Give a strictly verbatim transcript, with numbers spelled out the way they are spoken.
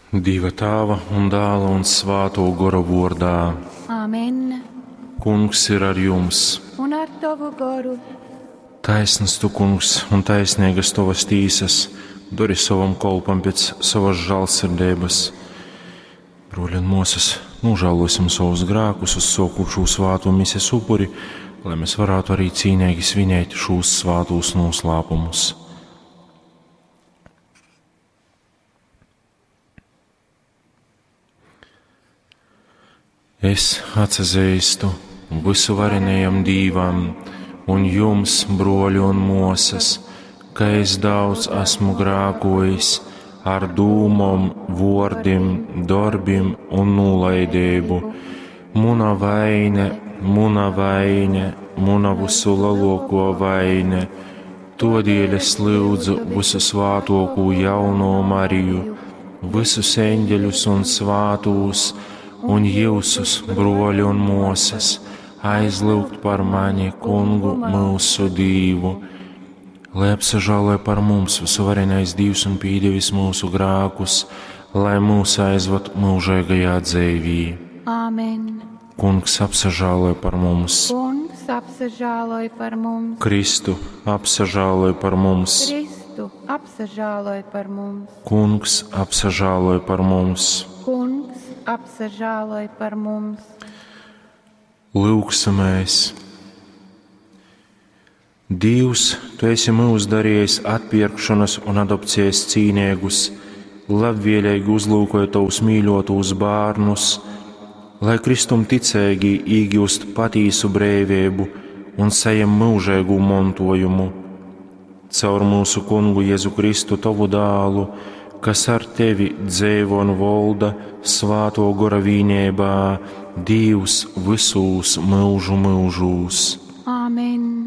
Dieva Tāva un Dāla un Svāto Gora vordā. Āmen. Kungs ir ar jums. Un ar tavu goru. Taisns tu, kungs, un taisnīgas tavas tīsas, dori savam kolpam pēc savas žālsirdības. Broļi un māsas, nožēlosim savus grēkus, uzsākot šo svāto mises upuri, lai mēs varētu arī cīnīgi svinēt šos svātos noslēpumus. Es atsazīstu visuvarenajam Dīvam un jums, broļi un mosas, ka es daudz esmu grākojis ar dūmom, vordim, darbim un nolaidību. Muna vaine, muna vaine, muna visu lielāko vaine. Todēļ es lūdzu visu svātoko jauno Mariju, visus eņģeļus un svātūs, un jūsus, broļi un mosas, aizlūgt par mani, kungu mūsu Dīvu. Lai apsažāloja par mums visuvarenais Dievs un pīdevis mūsu grākus, lai mūs aizvad mūžīgajā dzīvī. Āmen. Kungs apsažāloja par mums. Kungs apsažāloj par mums. Kristu apsažāloja par mums. Kristu apsažāloj par mums. Kungs apsažāloja par mums. Kungs apsažāloj par mums. Lūksimies! Dievs, tu esi mūs darījis atpirkšanas un adopcijas cīnīgus, labvēlīgi uzlūkoja tavus mīļotos bērnus, lai Kristum ticīgi iegūst patīsu brīvību un saņem mūžīgu mantojumu. Caur mūsu kungu Jēzu Kristu, tavu dālu, kas ar tevi dzīvo un valda svāto gora vīnībā, Dievs visūs mūžu mūžūs. Āmen.